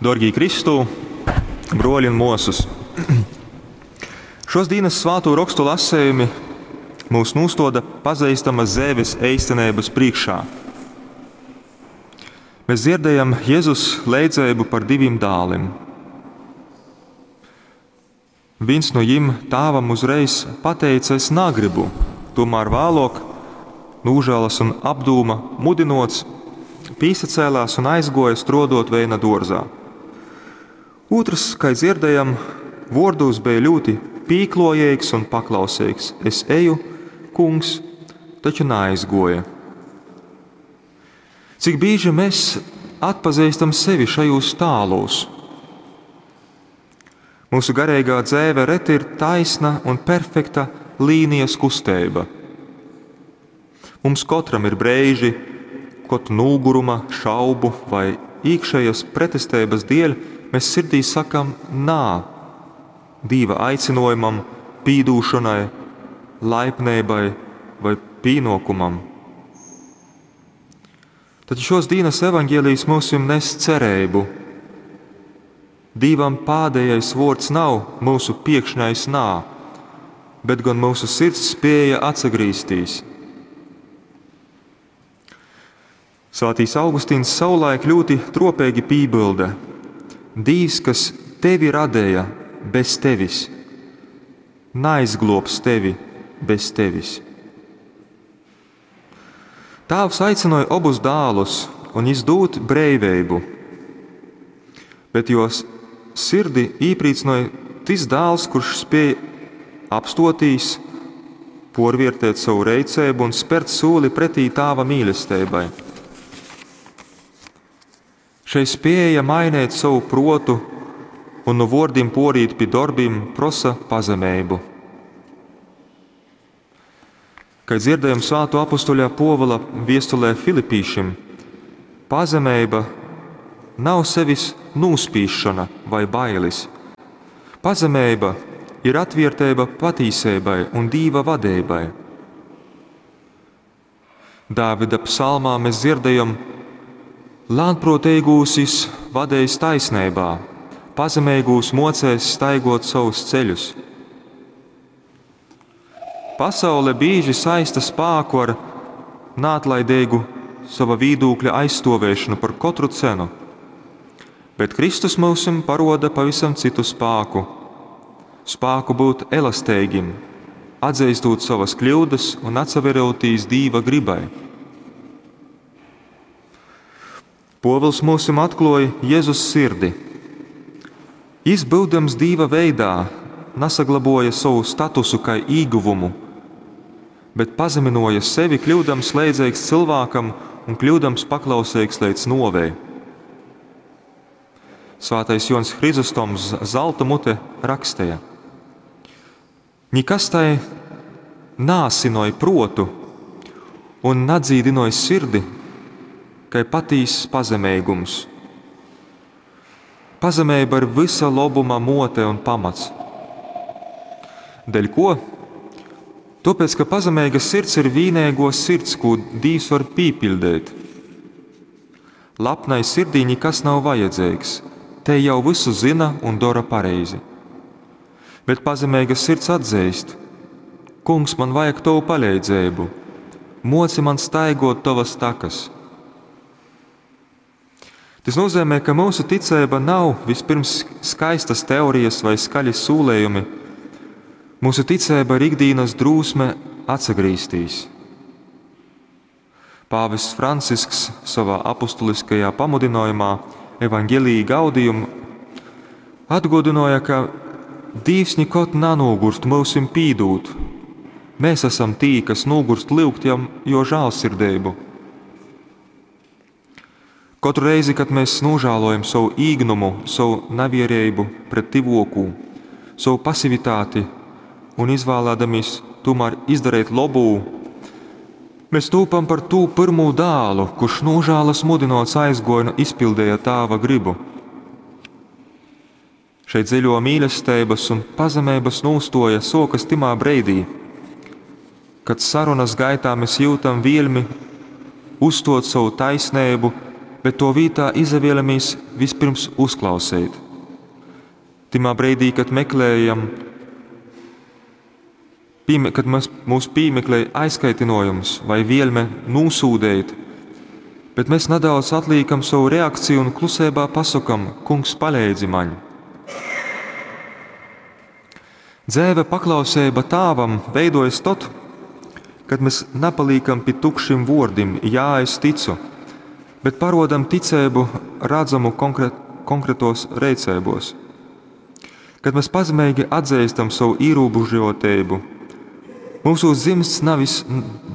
Dōrgī Kristū, brōļi un mōsas, šos dīnas svātū rokstu lasējumi mūs nūstoda pazeistamas dzeives eistineibas prīškā. Mēs dzirdējam Jezus leidzeibu par divim dālim. Viens no jim tāvam uzreiz pateica, es nagribu, tomēr vēlāk nūžēlas un apdūma mudinots, pīsacēlās un aizgoja strodot veina dōrzā. Otrs, kā dzirdējam, vōrdos bija ļoti pīklojīgs un paklausīgs. Es eju, kungs, taču neaizgoja. Cik bieži mēs atpazīstam sevi šajos tālos? Mūsu garīgā dzēve reti ir taisna un perfekta līnijas kusteiba. Mums katram ir breiži, kod nūguruma, šaubu vai iekšējas pretestības dēļ mēs sirdī sakam nā Dīva aicinojumam, pīdūšanai, laipnībai vai pīnokumam. Tad šos dienas evaņģēlijs mūsim nes cerību. Dīvam pādējais vārds nav mūsu piekšņais nā, bet gan mūsu sirds spēja atsagrīztīs. Svētīs Augustīns savulaik ļoti tropīgi pībilda: Dīvs, kas tevi radēja bez tevis, neizglobs tevi bez tevis. Tāvs aicināja abus dēlus un izdūt breiveibu, bet jos sirdi īprīcināja tis dēls, kurš spēja apstotīs, porviertēt savu reicēbu un spērt soli pretī tāva mīlestībai. Šai spēja mainīt savu protu un no vārdiem porīt pie darbiem prosa pazemību. Kad dzirdējam svāto apustuļa Povila viestulē Filipīšim, pazemība nav sevis nūspīšana vai bailis. Pazemība ir atvērtība patīsībai un Dīva vadībai. Dāvida psalmā mēs dzirdējam, lēnprātīgūs jis vadējis taisnībā, pazemīgūs mocēs staigot savus ceļus. Pasaule bieži saista spāku ar neatlaidīgu sava vīdūkļa aizstāvēšanu par katru cenu. Bet Kristus mūsim paroda pavisam citu spāku. Spāku būt elastīgim, atzīstot savas kļūdas un atsaverotīs Dīva gribai. Povils mūsim atklāja Jēzus sirdi. Jis, būdams Dīva veidā, nesaglaboja savu statusu kā īguvumu, bet pazeminoja sevi, kļūdams leidzīgs cilvēkam un kļūdams paklausīgs līdz novei. Svētais Jons Hrizostoms zelta mute rakstīja: Nikas tai nāsinoja protu un nadzīdinoja sirdi, kai patīss pazemīgums. Pazemība ir visa lobuma mote un pamats. Dēļ ko? Tāpēc, ka pazemīga sirds ir vīnēgo sirds, ko Dīvs var pīpildēt. Lapnai sirdī nekas nav vajadzīgs, te jau visu zina un dara pareizi. Bet pazemīga sirds atzīst: Kungs, man vajag tavu palīdzību, moci man staigot tavas takas. Tas nozīmē, ka mūsu ticība nav vispirms skaistas teorijas vai skaļi sūlējumi. Mūsu ticība ir ikdienas drūsme atsagrīztīs. Pāvests Francisks savā apustuliskajā pamudinājumā Evangelii Gaudium atgādināja, ka Dīvs nekad nenogurst mūsim pīdūt. Mēs esam tī, kas nogurst lūgt jam, jo žēlsirdību. Katru reizi, kad mēs nožēlojam savu īgnumu, savu nevierību pret tivokū, savu pasivitāti un izvēlēdamies tomēr izdarīt labu, mēs tūpam par tū pirmo dālu, kurš nožēlas mudinots aizgoja un izpildīja tāva gribu. Šeit dziļo mīlestības un pazemības nūstoja sokas timā breidī, kad sarunas gaitā mēs jūtam vielmi uzstot savu taisnību, bet tuo vītā izavielamies vispirms uzklauseit. Tymā breidī, kad meklējam, pīme, kad mēs, mūs pīmeklej aizkaitinojums vai vielme nūsūdeit, bet mēs nadaudz atlīkam savu reakciju un klusībā pasakam: Kungs, paleidzi maņ! Dzēve paklauseiba Tāvam veidojas tod, kad mēs napaliekam pi tukšim vuordim "Jā, es ticu", bet parodam ticeibu radzamu konkretos reiceibos. Kad mēs pazemeigi atzīstam savu ierobežoteibu, mūsos dzimst nevis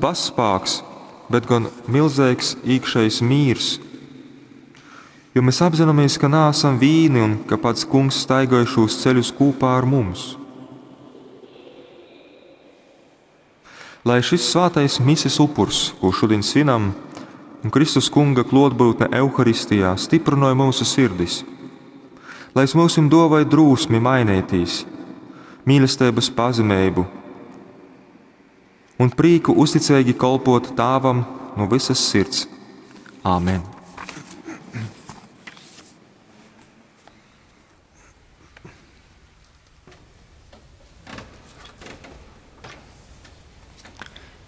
bazspāks, bet gan milzīgs iekšējs mīrs. Jo mēs apzināmies, ka neesam vīni un ka pats Kungs staigāja šos ceļus kopā ar mums. Lai šis svētais mises upurs, ko šodien svinam, un Kristus Kunga klotbūtne Euharistijā stiprināja mūsu sirdis, lai es mūsim dovai drūsmi mainētīs, mīlestības pazemību un prīku uzticīgi kalpot Tāvam no visas sirds. Āmen!